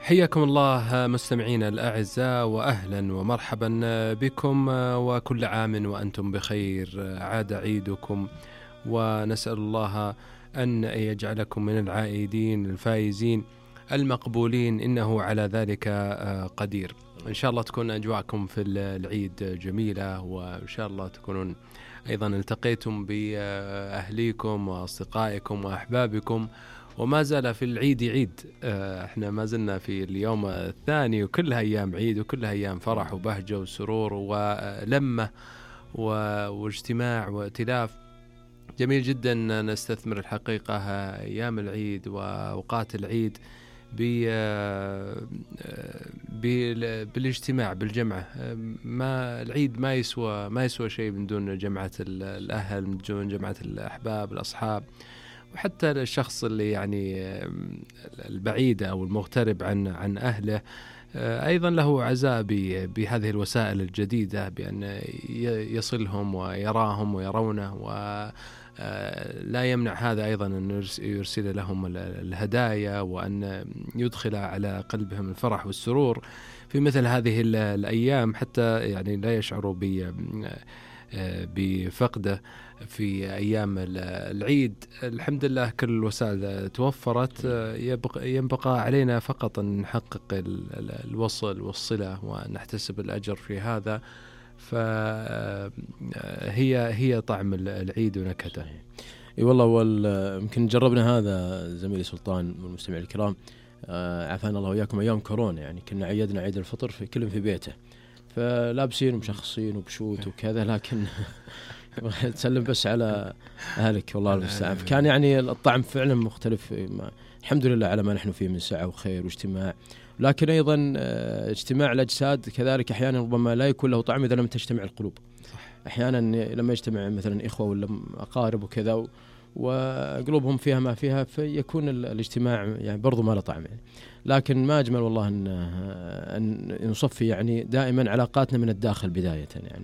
حياكم الله مستمعينا الأعزاء، وأهلا ومرحبا بكم، وكل عام وأنتم بخير. عاد عيدكم، ونسأل الله أن يجعلكم من العائدين الفائزين المقبولين، إنه على ذلك قدير. إن شاء الله تكون أجواءكم في العيد جميلة، وإن شاء الله تكونون أيضا التقيتم بأهليكم وأصدقائكم وأحبابكم، وما زال في العيد عيد. احنا ما زلنا في اليوم الثاني، وكلها أيام عيد، وكلها أيام فرح وبهجة وسرور ولمة واجتماع وائتلاف. جميل جدا نستثمر الحقيقة أيام العيد وأوقات العيد بالاجتماع بالجمعة. ما العيد ما يسوى شيء من دون جمعة الأهل، من دون جمعة الأحباب الأصحاب، وحتى الشخص اللي يعني البعيد أو المغترب عن أهله أيضا له عزاء بهذه الوسائل الجديدة، بأن يصلهم ويراهم ويرونه، ولا يمنع هذا أيضا أن يرسل لهم الهدايا، وأن يدخل على قلبهم الفرح والسرور في مثل هذه الأيام، حتى يعني لا يشعروا بفقده في أيام العيد. الحمد لله كل الوسائل توفرت، ينبقى علينا فقط أن نحقق الوصل والصلة ونحتسب الأجر في هذا. فهي طعم العيد ونكهته. اي والله، يمكن جربنا هذا زميلي سلطان والمستمعين الكرام، عافانا الله وياكم، أيام كورونا يعني كنا عيدنا عيد الفطر في كل في بيته، فلابسين ومشخصين وبشوت وكذا، لكن تسلم بس على أهلك والله المستعان. كان يعني الطعم فعلا مختلف. الحمد لله على ما نحن فيه من سعة وخير واجتماع، لكن أيضا اجتماع الأجساد كذلك أحيانا ربما لا يكون له طعم إذا لم تجتمع القلوب. أحيانا لما يجتمع مثلا إخوة ولا أقارب وكذا وقلوبهم فيها ما فيها، فيكون الاجتماع يعني برضو ما له طعم يعني. لكن ما أجمل والله أن نصفي يعني دائما علاقاتنا من الداخل بداية يعني.